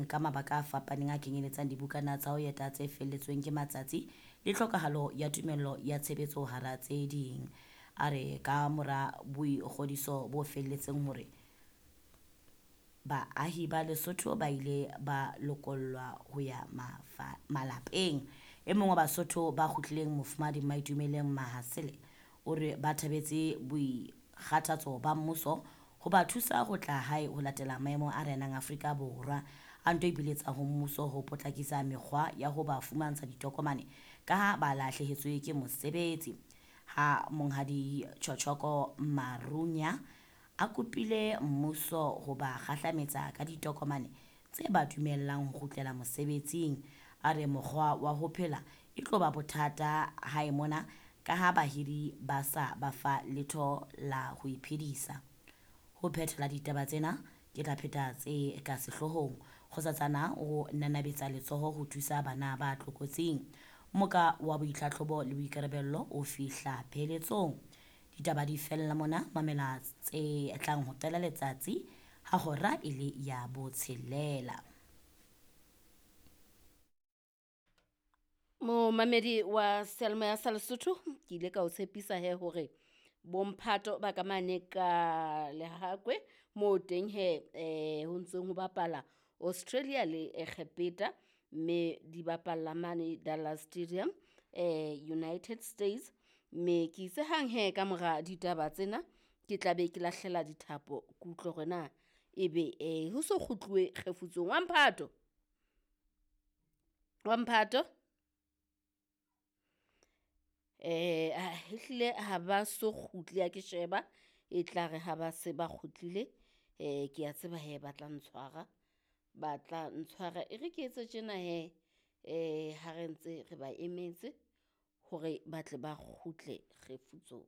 Ka mabaka a fapaneng a kenyeletsang dibukana tsa ho eta tse felletsweng ke matsatsi le tlhokahalo ya tumello ya tshebetso hara tse ding. A re ka mora boikgodiso bo felletseng hore baahi ba Lesotho ba ile ba lokollwa ho ya malapeng. E mong wa Basotho ba kgutlileng Mofumahadi Maitumeleng Mahasele o re ba thabetse boikgathatso ba mmuso ho ba thusa ho tla hae ho latela maemo a renang Afrika Borwa. A nto ipiletsa ho mmuso ho potlakisa mekgwa ya ho ba fumantsha ditokomane ka ha ba lahlehetswe ke mosebetsi. Ha Monghadi Chochoko Marunya a kopile mmuso ho ba kgahlametsa ka ditokomane tse ba dumellang ho kgutlela mosebetsing. A re mokgwa wa ho phela e tlo ba bothata hae mona ka ha bahiri ba sa ba fa letho la ho iphedisa. Ho phethela ditaba tsena ke tla pheta tse ka sehloohong. Kgosatsana o nanabetsa letsoho ho thusa bana ba tlokotsing. Moka wa boitlhatlhobo le boikarabello o fihla pheletsong. Ditaba di fella mona, mamela tse tlang ho qala letsatsi ha hora e le ya botshelela. Momamedi wa seyalemoya sa Lesotho, ke ile ka o tshepisa he hore bomphato ba ka mane ka Lehakwe moo teng he ho ntseng ho bapala Australia le Egepeta mme di bapalla mane Dallas Stadium United States. Mme ke itse hang he ka mora ditaba tsena ke tla be ke lahlela dithapo ke utlwe hore na ebe ho so kgutluwe kgefutsong. Wa mphato, wa mphato. Ehlile ha ba so kgutle ha ke sheba, e tla re ha ba se ba kgutlile ke a tseba he ba tla ntshwara, ba tla ntshwara. E re ke etse tjena he ha re ntse re ba emetse hore ba tle ba kgutle kgefutsong.